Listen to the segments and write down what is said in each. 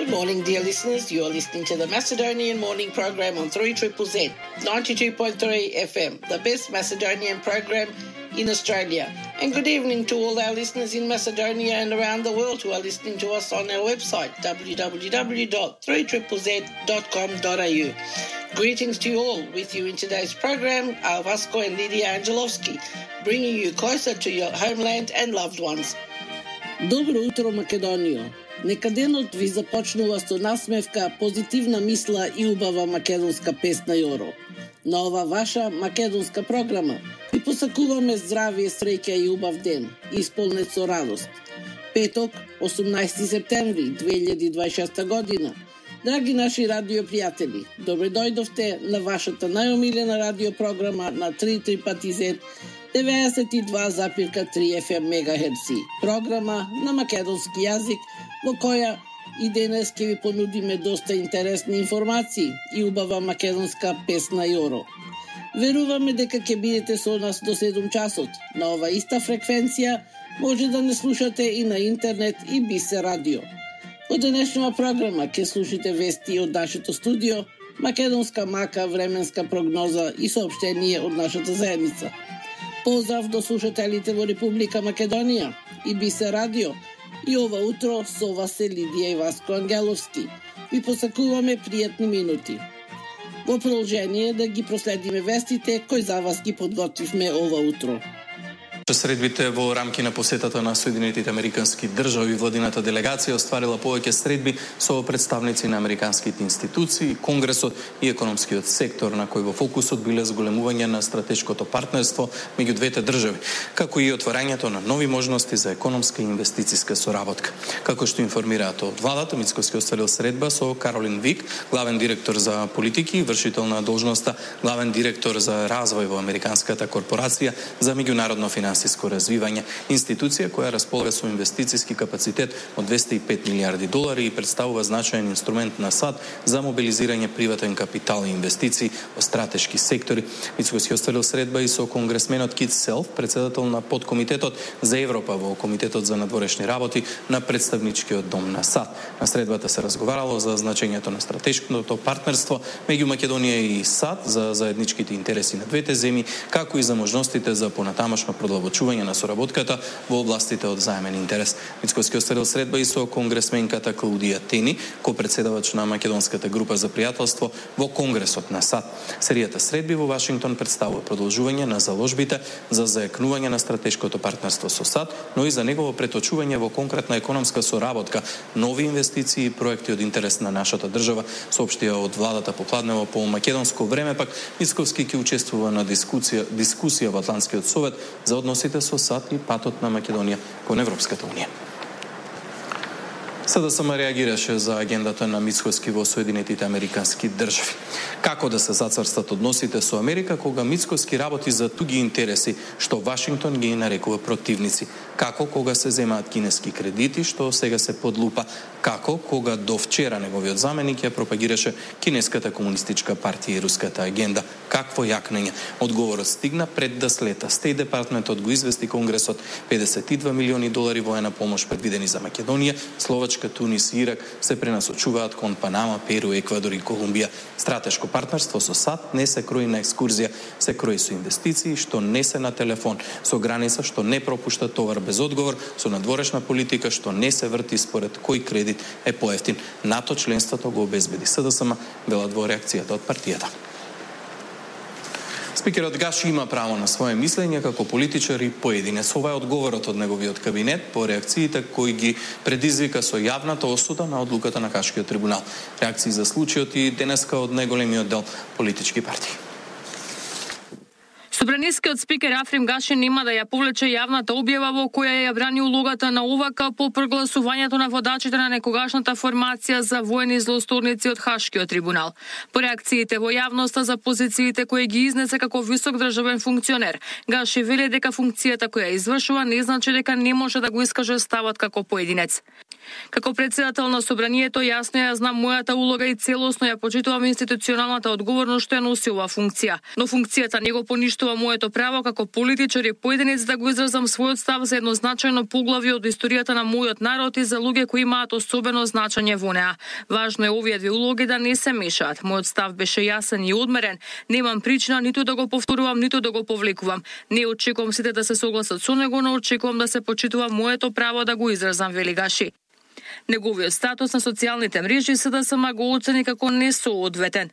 Good morning, dear listeners. You are listening to the Macedonian Morning Program on 3ZZZ, 92.3 FM, the best Macedonian program in Australia. And good evening to all our listeners in Macedonia and around the world who are listening to us on our website, www.3ZZZ.com.au. Greetings to you all. With you in today's program are Vasco and Lydia Angelovski, bringing you closer to your homeland and loved ones. Добро утро, Македонијо. Нека денот ви започнува со насмевка, позитивна мисла и убава македонска песна Јоро. На ова ваша македонска програма ви посакуваме здравие, среќа и убав ден, исполнет со радост. Петок, 18 септември 2026 година. Драги наши радиопријатели, добре дојдовте на вашата најомилена радиопрограма на 3ZZZ 92,3 FM мегахерци. Програма на македонски јазик во која и денес ќе ви понудиме доста интересни информации и убава македонска песна Јоро. Веруваме дека ќе бидете со нас до 7 часот. На ова иста фреквенција може да не слушате и на интернет и Бисе радио. Во денешната програма ќе слушате вести од нашето студио, македонска мака, временска прогноза и соопштение од нашата заедница. Поздрав до слушателите во Република Македонија и Бисе радио. И ова утро со вас се Лидија и Васко Ангеловски. Ви посакуваме пријатни минути. Во продолжение да ги проследиме вестите кои за вас ги подготвивме ова утро. Средбите во рамки на посетата на Соединетите Американски држави, владината делегација остварила повеќе средби со представници на американските институции, Конгресот и економскиот сектор, на кој во фокусот биле зголемување на стратешкото партнерство меѓу двете држави, како и отварањето на нови можности за економска и инвестициска соработка. Како што информираат од владата, Мицковски остварил средба со Каролин Вик, главен директор за политики и вршител на должноста главен директор за развој во Американската корпорација за меѓународно финансиско развивање, институција која располага со инвестициски капацитет од $205 милиарди и представува значаен инструмент на САД за мобилизирање приватен капитал и инвестиции во стратешки сектори. Мицковски остварил средба и со конгресменот Кит Селф, председател на подкомитетот за Европа во Комитетот за надворешни работи на представничкиот дом на САД. На средбата се разговарало за значењето на стратешкото партнерство меѓу Македонија и САД, за заедничките интереси на двете земји, како и за можностите за понатамошно продолжување на соработката во областите од заемен интерес. Мицковски остварил средба и со конгресменката Клаудија Тени, ко-председавач на македонската група за пријателство во Конгресот на САД. Серијата средби во Вашингтон представува продолжување на заложбите за заекнување на стратешкото партнерство со САД, но и за негово преточување во конкретна економска соработка, нови инвестиции и проекти од интерес на нашата држава, соопштија од владата попладнево по македонско време, пак Мицковски ќе учествува на дискусија во Атлантскиот совет за односите со САД и патот на Македонија кон Европската унија. СДСМ реагираше за агендата на Мицковски во Соединетите Американски држави. Како да се зацрстат односите со Америка кога Мицковски работи за туги интереси, што Вашингтон ги нарекува противници? Како кога се земаат кинески кредити, што сега се под лупа? Како кога до вчера неговиот заменик ја пропагираше кинеската комунистичка партија и руската агенда? Какво јакнење? Одговорот стигна пред да слета. Стејт департментот го извести Конгресот $52 милиони воена помош предвидени за Македонија, Словачка, Тунис и Ирак се пренасочуваат кон Панама, Перу, Еквадор и Колумбија. Стратешко партнерство со САД не се крои на екскурзија, се крои со инвестиции што не се на телефон, со граница што не пропушта товар без одговор, со надворешна политика што не се врти според кој кредит е поевтин. НАТО членството го обезбеди СДСМ, велат во реакцијата од партијата. Спикерот Гаши има право на свое мислење како политичар и поединец. Ова е одговорот од неговиот кабинет по реакциите кои ги предизвика со јавната осуда на одлуката на Хашкиот трибунал. Реакции за случајот и денеска од најголемиот дел политички партии. Собранискиот спикер Африм Гаши нема да ја повлече јавната објава во која ја брани улогата на ОВК по прогласувањето на водачите на некогашната формација за воени злосторници од Хашкиот трибунал. По реакциите во јавноста за позициите кои ги изнесе како висок државен функционер, Гаши вели дека функцијата која извршува не значи дека не може да го искаже ставот како поединец. Како председател на собранието јасно ја знам мојата улога и целосно ја почитувам институционалната одговорност што ја носи оваа функција. Но функцијата не го поништува моето право како политичар и поединец да го изразам својот став за еднозначајно поглавје од историјата на мојот народ и за луѓе кои имаат особено значење во неа. Важно е овие две улоги да не се мешаат. Мојот став беше јасен и одмерен. Немам причина ниту да го повторувам, ниту да го повлекувам. Не очекувам сите да се согласат со него, но очекувам да се почитува моето право да го изразам, вели Гаши. Неговиот статус на социјалните мрежи СДСМ го оцени како несоодветен.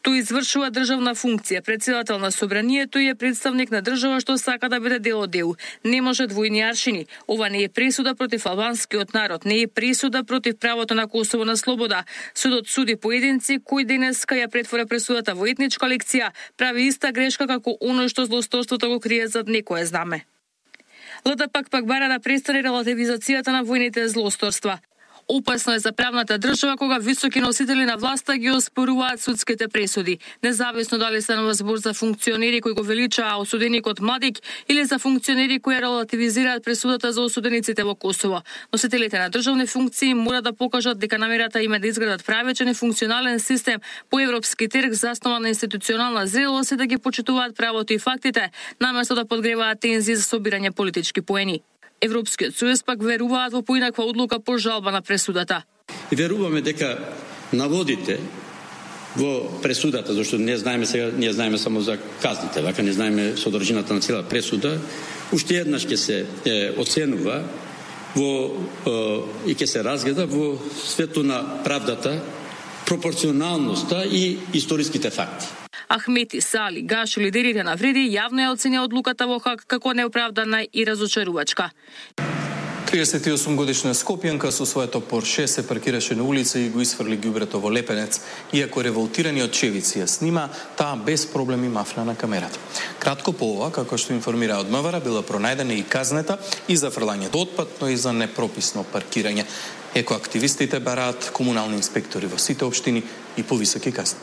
Тој извршува државна функција, председател на собранието и е представник на држава што сака да биде дел од ЕУ. Не може двојни аршини. Ова не е пресуда против албанскиот народ, не е пресуда против правото на Косово на слобода. Судот суди поединци кои денеска ја претвора пресудата во етничка лекција, прави иста грешка како оној што злосторството го крие зад некое знаме. ЛДП пак бара да престане релативизацијата на војните злосторства. Опасно е за правната држава кога високи носители на власта ги оспоруваат судските пресуди, независно дали станува збор за функционери кои го величаа осуденикот Младик или за функционери кои релативизираат пресудата за осудениците во Косово. Носителите на државни функции мора да покажат дека намерата им е да изградат правечен и функционален систем по европски терк заснован на институционална зрелост и да ги почитуваат правото и фактите, наместо да подгреваат тензии за собирање политички поени. Европскиот сојуз пак веруваат во поинаква одлука по жалба на пресудата. И веруваме дека наводите во пресудата, зашто не знаеме само за казните, вака не знаеме содржината на цела пресуда, уште еднаш ќе се оценува и ќе се разгледа во светло на правдата, пропорционалноста и историските факти. Ахмети, Сали, Гаши, лидерите на Вреди јавно ја оценија одлуката во Хаг како неоправдана и разочарувачка. 38-годишна скопјанка со своето Порше се паркираше на улица и го исфрли ѓубрето во Лепенец. Иако револтираниот Чевици ја снима, таа без проблеми мафна на камерата. Кратко по ова, како што информира од МВР, била пронајдена и казнета и за фрлањето отпад, но и за непрописно паркирање. Екоактивистите бараат комунални инспектори во сите општини и повисоки казни.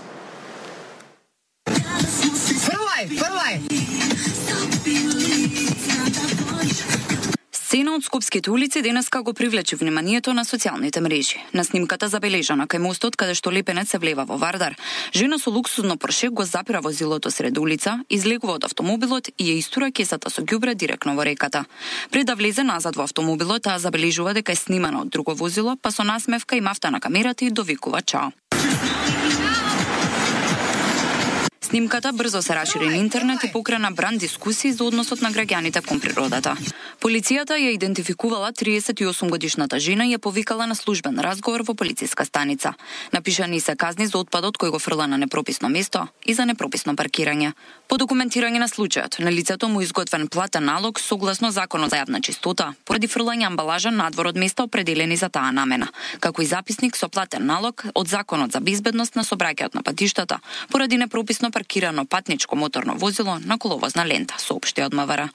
Сцена од скопските улици денеска го привлече вниманието на социјалните мрежи. На снимката забележана кај мостот каде што Лепенец се влева во Вардар, жена со луксузно Порше го запира возилото сред улица, излегува од автомобилот и ја истура кесата со ѓубре директно во реката. Пред да влезе назад во автомобилот, таа забележува дека е снимана од друго возило, па со насмевка и мафта на камерата и довикува чао. Снимката брзо се рашири на интернет и покрена бранд дискусии за односот на граѓаните кон природата. Полицијата ја идентификувала 38-годишната жена и ја повикала на службен разговор во полициска станица. Напишани се казни за отпадот кој го фрла на непрописно место и за непрописно паркирање. По документирање на случајот, на лицето му изготвен платен налог согласно Законот за јавна чистота, поради фрлање амбалажа надвор од места определени за таа намена, како и записник со платен налог од Законот за безбедност на сообраќајот на патиштата, поради непрописно паркирано патничко моторно возило на коловозна лента, соопшти од МВР.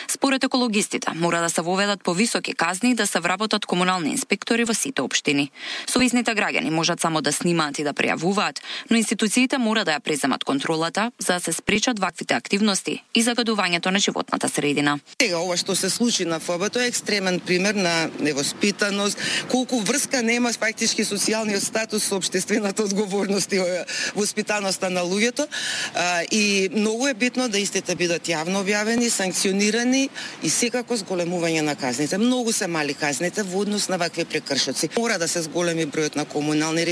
Според екологистите, мора да се воведат повисоки казни и да се вработат комунални инспектори во сите општини. Совисните граѓани можат само да снимаат и да пријавуваат, но институциите мора да ја преземат контролата за да се спречат ваквите активности и загадувањето на животната средина. Сега ова што се случи на ФБ е екстремен пример на невоспитаност, колку врска нема фактички социјалниот статус со општествената одговорност и воспитаноста на луѓето. И многу е битно да истите бидат јавно објавени, санкционирани и секако зголемување на казните. Многу се мали казните во однос на вакви прекршоци. Мора да се зголеми бројот на комунални